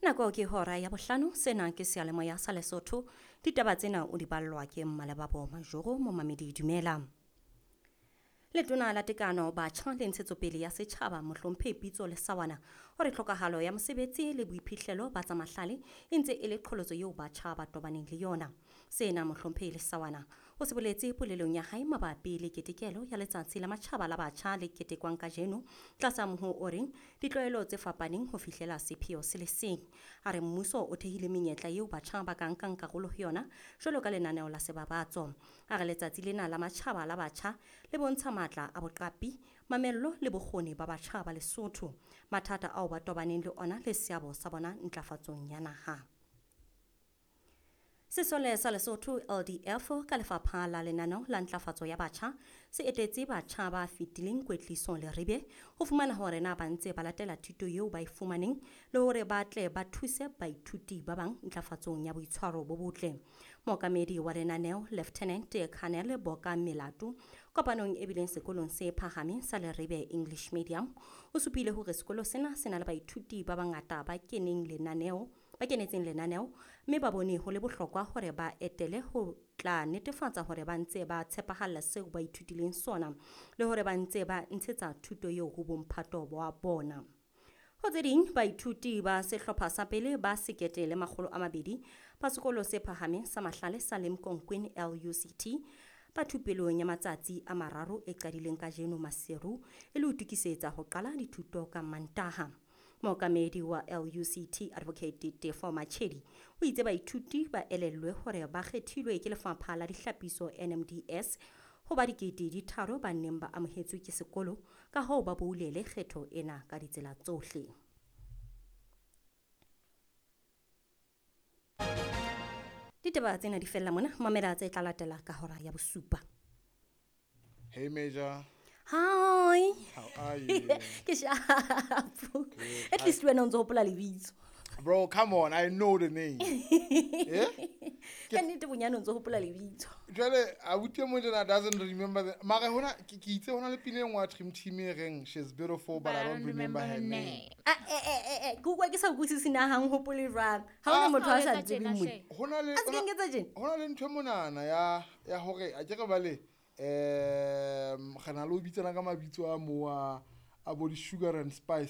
Nako ke hora ya bohlano, sena ke seyalemoya sa Lesotho. Ditaba tsena o di ballwa ke Mmalebabo Majoro, momamedi dumela. Letona la Tekano, Batjha le Ntshetsopele ya Setjhaba, Mohlomphehi Pitso Lesawana, o re tlhokahalo ya mosebetsi le boiphihlelo ba tsa mahlale e ntse e le qholotso eo batjha ba tobaneng le yona. Sena Mohlomphehi Lesawana o se boletse polelong ya hae mabapi le ketekelo ya Letsatsi la Matjhaba la Batjha le ketekwang kajeno tlasa moho o reng ditlwaelo tse fapaneng ho fihlela sepheo se le seng. A re mmuso o thehile menyetla eo batjha ba ka nkang karolo ho yona jwalo ka lenaneo la sebabatso. A re letsatsi lena la matjhaba la batjha le bontsha matla a boqapi, mamello le bokgoni ba batjha ba Lesotho, mathata ao ba tobaneng le ona le seabo sa bona ntlafatsong ya naha. Sesole sa Lesotho LDF ka lefapha la lenaneo la ntlafatso ya batjha se etetse batjha ba fetileng kwetliso Leribe ho fumana hore na ba ntse ba latela thuto eo ba e fumaneng le hore ba tle ba thuse baithuti ba bang ntlafatsong ya boitshwaro bo botle. Mookamedi wa lenaneo Lieutenant Colonel Boka Melato kopanong e bileng sekolong se phahameng sa Leribe English Medium o supile hore sekolo sena se na le baithuti ba bangata ba keneng lenaneo ba kenetseng lenaneo mme ba bone ho le bohlokwa hore ba etele ho tla netefatsa hore ba ntse ba tshepahalla seo ba ithutileng sona le hore ba ntse ba ntshetsa thuto eo ho bomphato wa bona. Ho tse ding, baithuti ba sehlopha sa pele ba 1200 ba sekolo se phahameng sa mahlale sa Limkokwing LUCT ba thupelong ya matsatsi a mararo e qadileng kajeno Maseru e le ho itokisetsa ho qala dithuto ka Mantaha. Mookamedi wa LUCT Advocate Tefo Machedi o itse baithuti ba elellwe hore ba kgethilwe ke lefapha la dihlapiso NMDS ho ba 3000 ba neng ba amohetswe ke sekolo, ka hoo ba boulele kgetho ena ka ditsela tsohle. Ditaba tsena di fella mona, mamela tse tla latela ka hora ya bosupa. Hey Major. Hi. How are you? Ke sharp. At least wena o ntso hopola lebitso. Bro, come on, I know the name. Yeah? Ka nnete bonyane o ntso hopola lebitso. Jwale abuti e mong tjena doesn't remember the mara hona ke itse hona le pina e nngwe ya Dream Team e reng she's beautiful but I don't remember her name. Ah, ke utlwa ke sa utlwisise na ha nhopole jwang. Ha hona motho a sa Ha o etsa ntsebeng tjena mona. hle. Hona le A se ke nketsa tjena? hona le ntho e monana ya hore a ke re bale re na le ho bitsana ka mabitso a mo a bo di-sugar and spice.